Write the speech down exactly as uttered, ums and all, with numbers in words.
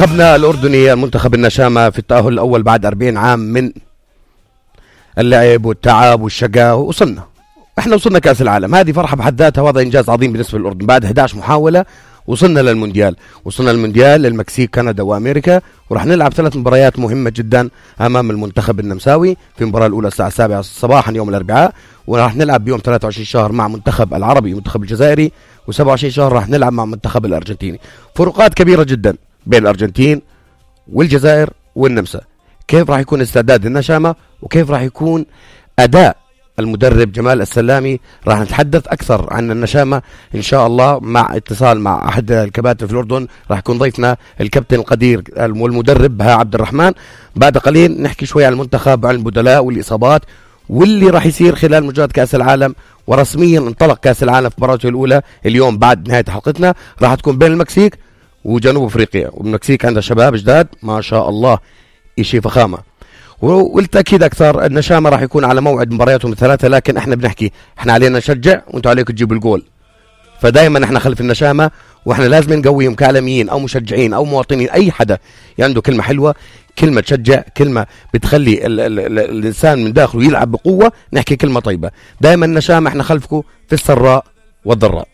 منتخبنا الأردني المنتخب النشامة في التأهل الأول بعد أربعين عام من اللعب والتعب والشقاء، وصلنا احنا وصلنا كأس العالم. هذه فرحة بحد ذاتها، وهذا إنجاز عظيم بالنسبة للأردن. بعد إحدى عشرة محاولة وصلنا للمونديال، وصلنا للمونديال للمكسيك كندا وأمريكا، ورح نلعب ثلاث مباريات مهمة جدا أمام المنتخب النمساوي في المباراة الأولى الساعة السابعة صباحا يوم الأربعاء، ورح نلعب بيوم ثلاثة وعشرين شهر مع منتخب العربي ومنتخب الجزائري، وسبعة وعشرين شهر رح نلعب مع منتخب الأرجنتيني. فروقات كبيرة جدا بين الأرجنتين والجزائر والنمسا. كيف راح يكون استعداد النشامة وكيف راح يكون أداء المدرب جمال السلامي؟ راح نتحدث أكثر عن النشامة إن شاء الله مع اتصال مع أحد الكباتن في الأردن. راح يكون ضيفنا الكابتن القدير والمدرب بها عبد الرحمن. بعد قليل نحكي شوي عن المنتخب وعن البدلاء والإصابات واللي راح يصير خلال مجرد كأس العالم. ورسميا انطلق كأس العالم في مباراته الأولى اليوم بعد نهاية حلقتنا، راح تكون بين المكسيك وجنوب أفريقيا، والمكسيك عندها شباب جداد ما شاء الله إشي فخامة. والتأكيد أكثر النشامة راح يكون على موعد مبارياتهم الثلاثة، لكن احنا بنحكي احنا علينا نشجع وانتوا عليكم تجيبوا الجول. فدائما احنا خلف النشامة، واحنا لازم نقويهم كعالميين او مشجعين او مواطنين. اي حدا عنده كلمة حلوة، كلمة تشجع، كلمة بتخلي ال ال ال الانسان من داخله يلعب بقوة، نحكي كلمة طيبة. دائما النشامة احنا خلفكم في السراء والضراء.